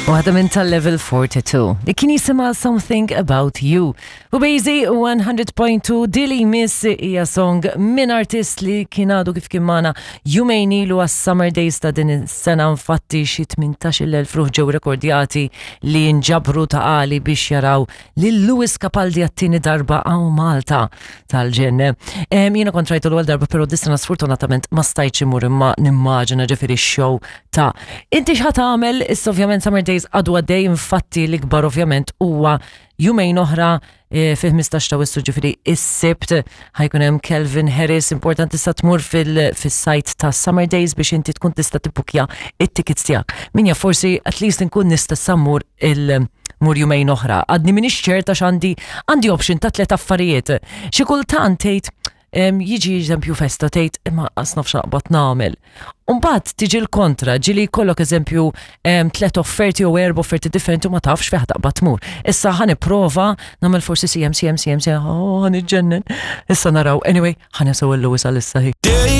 Waħda minn tal-Level 42 li kien jisimha Something About You. U Bejzi 100.2 Dili Miss hija song minn artist li kien għadu kif kien magħna jumejn ilu għas-Summer Days ta' din is-sena, infatti xi 18,000 ruħ ġew rekordjati li nġabru ta' għali biex jaraw lil Lewis Capaldi għat-tieni darba hawn Malta tal-ġenn. Jiena kont rajtu l-ewwel darba, però dis-sena sfortunatament ma stajtx imur, imma nimmaġina ġifieri x-show ta' Inti x'ħa tagħmel? Issa ovvjament Summer Days għadu għaddej, infatti l-ikbar ovvjament huwa jumejn oħra fil-15 ta' Wissu, ġifieri is-Sibt, ħajkun hemm Calvin Harris. Importanti sa tmur fil-site ta' Summer Days biex inti tkun tista' tibbukja it-tickets tiegħek. Min jaf, forsi at least nkun nista' sammur il- mur jumejn oħra. Għadni minix ċerta x'għandi, għandi option ta' tliet affarijiet. Xi kultant tgħid jiġi eżempju festa, tgħid imma qas naf x'aqbad nagħmel. Umbagħad tiġi l-kontra, ġili jkollok eżempju tliet offerti jew erba' offerti differenti u ma tafx fejn taqbad tmur. Issa ħa nipprova nagħmel forsi CM, CM, CM, CM, oh, ħa niġġennen. Issa naraw. Anyway, ħa nisimgħu l-Lewis għalissa hi.